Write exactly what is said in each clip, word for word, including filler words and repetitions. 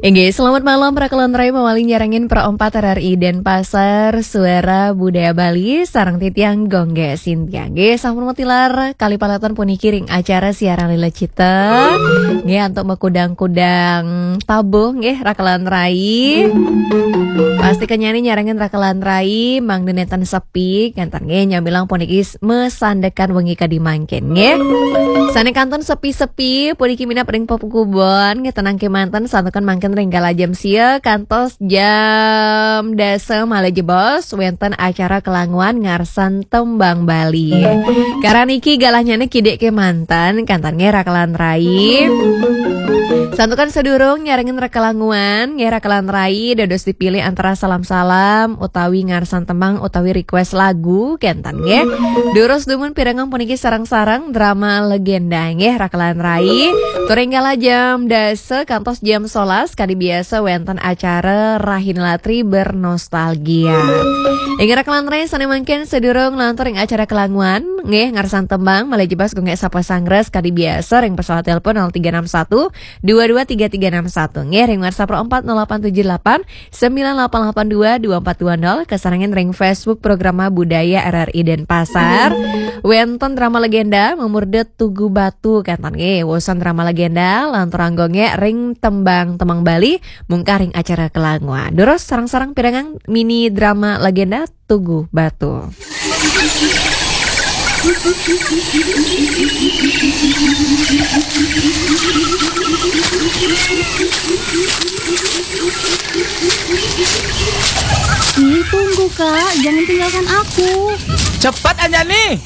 Inggih, selamat malam para kelontrai, mawali nyarengin Pro empat R R I Denpasar, Suara Budaya Bali, sareng titiang Gongge Sintiang. Inggih, sampun matilar kali paleton puniki ring acara siaran Lila Cita. Inggih, antuk makudang-kudang tabuh, inggih, rakelan rai. Pasti kenyani nyarengin rakelan rai, mangda nenten sepi, kenten inggih, nyamilang puniki masandekan wengi kadi mangkin, inggih. Sane kantun sepi-sepi, puniki minab ring pepukubon, inggih, tenang kemanten, santukan mangkin ring galah jam sia kantos jam dasa malih jebos, wenten acara kelanguan ngarsan tembang Bali. Karan niki galahnyane kidik kemanten, kenten inggih rakelan rai. Santukan sadurung nyarengin rakelanguan, inggih rakelan rai, dados dipilih antara salam-salam, utawi ngarsan tembang, utawi request lagu, kenten inggih. Durus dumun pirengang puniki sareng-sareng drama legenda, inggih rakelan rai. Tur ring galah jam dasa kantos jam sebelas, kadi biasa wenten acara Rahina Latri Bernostalgia. Inggih rakelan rai, sane mangkin sadurung nglantur ring acara kelanguan, inggih ngarsan tembang, malih jebos Gongge sapa sangres kadi biasa ring pesawat telepon nol tiga enam satu dua dua tiga tiga enam satu. Inggih ring WhatsApp Pro empat nol delapan tujuh delapan sembilan delapan delapan dua dua empat dua nol, kasarengin ring Facebook Programa Budaya R R I Denpasar. Wenten drama legenda mamurda Tugu Batu, kenten inggih. Wusan drama legenda lanturang Gongge ring tembang-tembang Bali, mungkah ring acara kelanguan. Durus sareng-sareng pirengang mini drama legenda Tugu Batu. Ih, tunggu, Kak, jangan tinggalkan aku. Cepat, Anjani!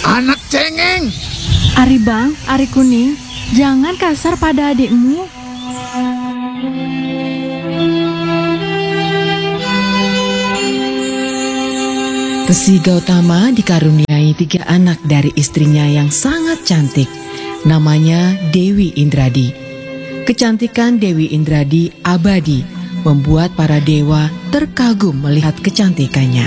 Anak cengeng! Ari Bang, Ari Kuning, jangan kasar pada adikmu. Resi Gautama dikaruniai tiga anak dari istrinya yang sangat cantik. Namanya Dewi Indradi. Kecantikan Dewi Indradi abadi, membuat para dewa terkagum melihat kecantikannya.